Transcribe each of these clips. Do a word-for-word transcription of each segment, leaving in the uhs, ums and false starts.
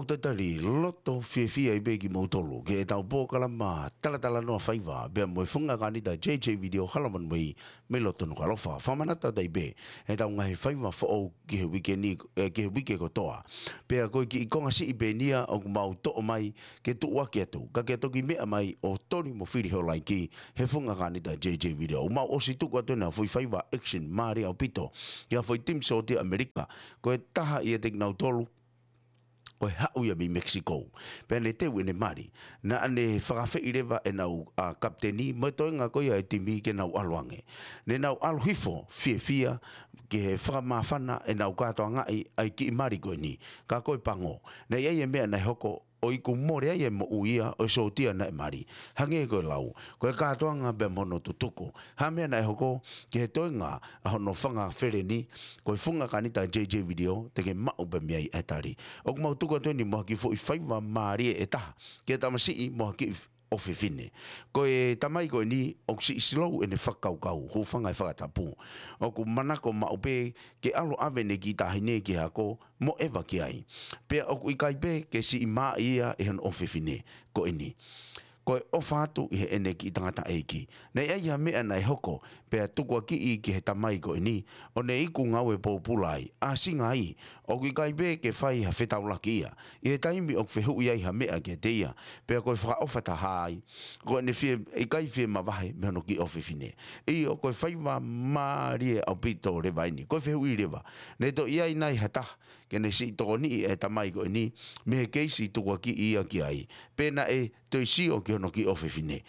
Talitali loto fiefia ai pē kimoutolu ki heʻetau polokalama talatalanoa faiva pea mo e Funga Kānita J J Video, Hala Manuei mei loto Nukuʻalofa. Fakamanatu atu ai pē ʻetau ngaahi faiva foʻou ki he uike ni, eh, ki he uike kotoa. Pea ko e kiʻi konga siʻi pē eni ia ʻoku mau toʻo mai ke tuʻuaki atu, ka ke toki meʻa mai ʻo toli mo fili ho laiki he Funga Kānita J J Video. ʻOku mau ʻosi tuku atu ʻenau foʻi faiva action mālie ʻaupito ki ha foʻi timi sōtia ʻAmelika. Ko e taha ʻiate kinautolu ko e haʻu ia mei Mexico. Pea ne teu ʻene mali. Naʻa ne fakafeʻiloaki leva ʻenau, a, kapiteni mo e toenga ko ia e timi ke nau ʻalu ange. Ne nau ʻalu hifo fiefia ke fakamāfana ʻenau kātoangaʻi ʻa e kiʻi mali ko eni. Ka ko e pango, naʻe ʻi ai e meʻa naʻe hoko ʻo iku mole ai e moʻui ia ʻo e sōtia naʻe mali. Hangē ko e lau, ko e kātoanga pea mo hono tutuku. Ha meʻa naʻe hoko ki he toenga ʻa hono fanga feleni, ko e Funga Kānita J J Video, te ke maʻu pē mei ai e tali. ʻOku mau tuku atu eni mo ha kiʻi foʻi faiva mālie ʻe taha ki he tamasiʻi mo ha kiʻi ʻofefine. Ko e tamai ko eni ʻoku siʻi slow ʻene fakakaukau, hūfanga he fakatapu. ʻOku manako maʻu pē ke ʻalu ʻo ʻave ʻene kiʻi taʻahine ki he ako mo ʻeva ki ai. Pea ʻoku ʻikai pē ke siʻi maʻa ia ʻe hono ʻofefine ko eni. Ko e ʻofa atu ʻi heʻene kiʻi tangataʻeiki. Naʻe ʻi ai ha meʻa naʻe hoko, pea tukuakiʻi ki he tamai ko eni, ʻo ne iku ngāue pōpula ai. ʻAsinga ai, ʻoku ʻikai pē ke fai ha fetaulaki ia ʻi he taimi ʻoku fehuʻi ai ha meʻa kiate ia, pea ko e fakaʻofa taha ai, ko ʻene fie, ʻikai fie mavahe mei hono kiʻi ʻofefine. ʻIo, ko e faiva mālie ʻaupito leva eni. Ko e fehuʻi leva, ne toe ʻi ai nai ha taha ke ne siʻi tokoniʻi e tamai ko eni mei he keisi tukuakiʻi ia ki ai, pe naʻe toe sio ki hono kiʻi ʻofefine?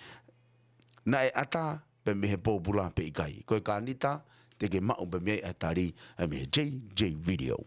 Naʻe ʻatā pē mei he pōpula pe ʻikai? Ko e Kānita, te ke maʻu pē mei ai e tali, ʻa e mei he J J Video.